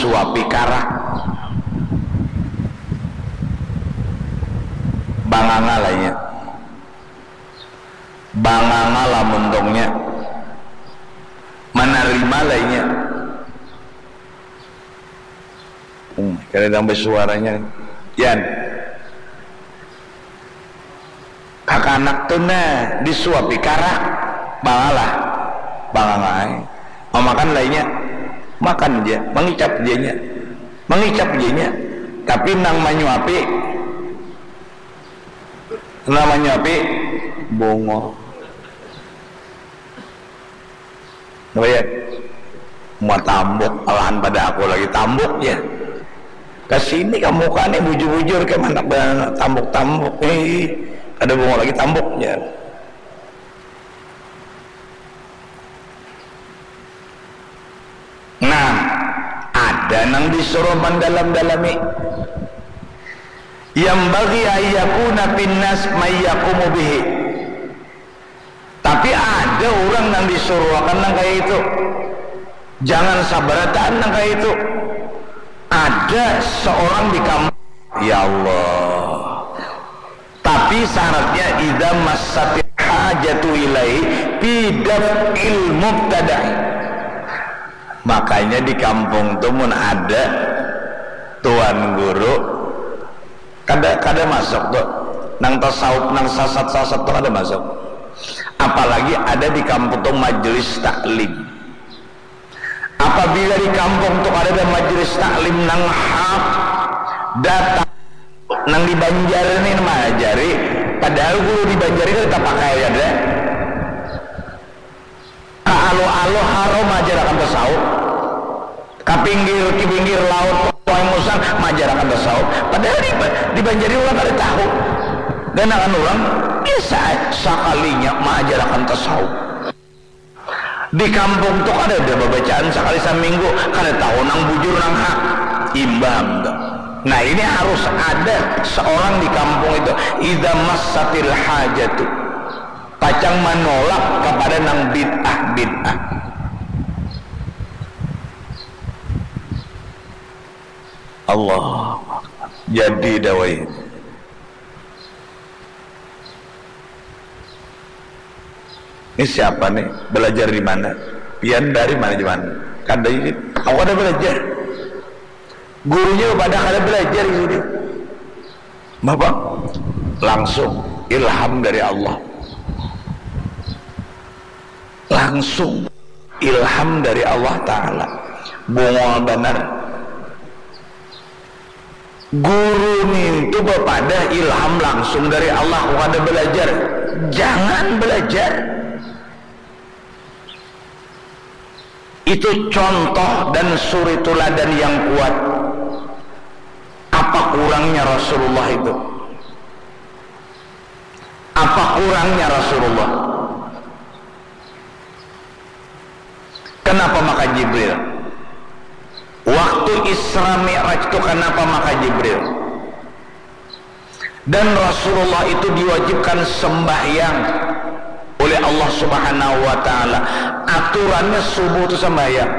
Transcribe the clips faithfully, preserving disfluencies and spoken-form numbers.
suapi karak. Banganga lainnya. Banganga lah muntungnya. Manarima lainnya. Hmm, kada nang basuaranya. Yan. Kakanak tu nah disuapi karak, bangalah, bangangai. Mamakan lainnya, makan ja, mangicap janya, mangicap janya. Tapi nang manyuapi, nang manyuapi bungul. Napa ya? Mua tambuk, alahan pada aku lagi tambuk ya. Kasini ka muka nih bujur-bujur ke mana tambuk-tambuk nih. Kada bunga lagi tambuk ya. Nah, ada nang disuruh mendalam-dalami. Yang bagi ayakuna pinnas mayyakumu bihi. Tapi ada orang nang disuruhakan nang kaya itu. Jangan sabarataan nang kaya itu. Ada seorang di kampung, ya Allah. Tapi syaratnya idza massatil hajatu ilaihi fi daf'il mubtada'i. Makanya di kampung tuh mun ada tuan guru kada kada masuk tuh. Nang tasawuf nang sasat-sasat tuh kada masuk. Apalagi ada di kampung tuh majelis taklim. Apabila di kampung tuh ada majelis taklim nang hak datang nang di Banjar ini mengajari, padahal guru di Banjar ini kita pakai ada. Ka aluh-aluh haram ajarakan tasawuf. Ka pinggir, ka pinggir laut, Sungai Musang, maajarakan tasawuf. Padahal di, di Banjar ini urang kada tahu. Ganakan urang, biasa ai, sakalinya maajarakan tasawuf. Di kampung tu kadada babacaan sakali saminggu, kada tahu nang bujur, nang hak. Imbah am tu. Nah, ini harus ada seorang di kampung itu, idza massatil hajatu. Pacang manolak kapada nang bid'ah-bid'ah. Allah. Jadi dawai. Ini siapa nih? Belajar di mana? Pian dari mana, di mana? Kada ini. Aku kada belajar. Gurunya pada kada belajar ini. Bapak langsung ilham dari Allah. Langsung ilham dari Allah Ta'ala. Bungul banar. Guru nintu bapadah ilham langsung dari Allah, kada belajar. Jangan belajar. Itu contoh dan suri tuladan yang kuat. Apa kurangnya Rasulullah itu? Apa kurangnya Rasulullah? Kenapa maka Jibril? Waktu Isra Mi'raj itu kenapa maka Jibril? Dan Rasulullah itu diwajibkan sembahyang oleh Allah Subhanahu wa Ta'ala. Aturannya subuh itu sembahyang.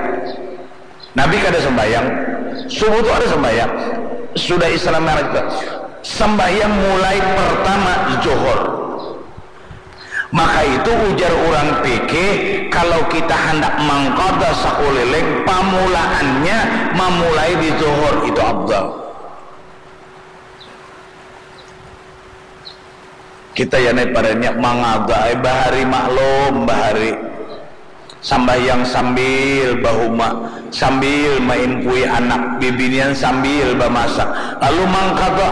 Nabi kada sembahyang. Subuh tu ada sembahyang. Sudah Isra Mi'raj tu. Sembahyang mulai pertama zuhur. Maka itu ujar urang fikih, kalau kita handak mangkada sakuliling, pamulaannya mamulai di zuhur, itu afdal. Kita ya nai paranya mangada ai bahari, maklum bahari. Sambahyang sambil bahuma, sambil maimpui anak, bibinian sambil bamasak, lalu mangkada.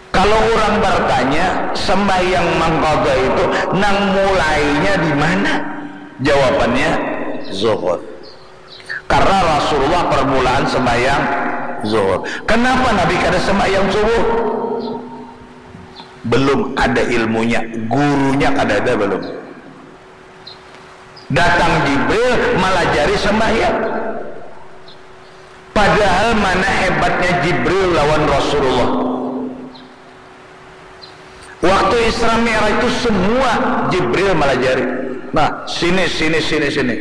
Kalau urang bartanya, sambahyang mangkada itu nang mulainya di mana? Jawabannya, zuhur. Karena Rasulullah permulaan sembahyang zuhur. Kenapa Nabi kada sembahyang subuh? Belum ada ilmunya, gurunya kada ada belum. Datang Jibril malajari sembahyang. Padahal mana hebatnya Jibril lawan Rasulullah. Waktu Isra Mi'raj itu semua Jibril malajari. Nah, sini, sini, sini, sini.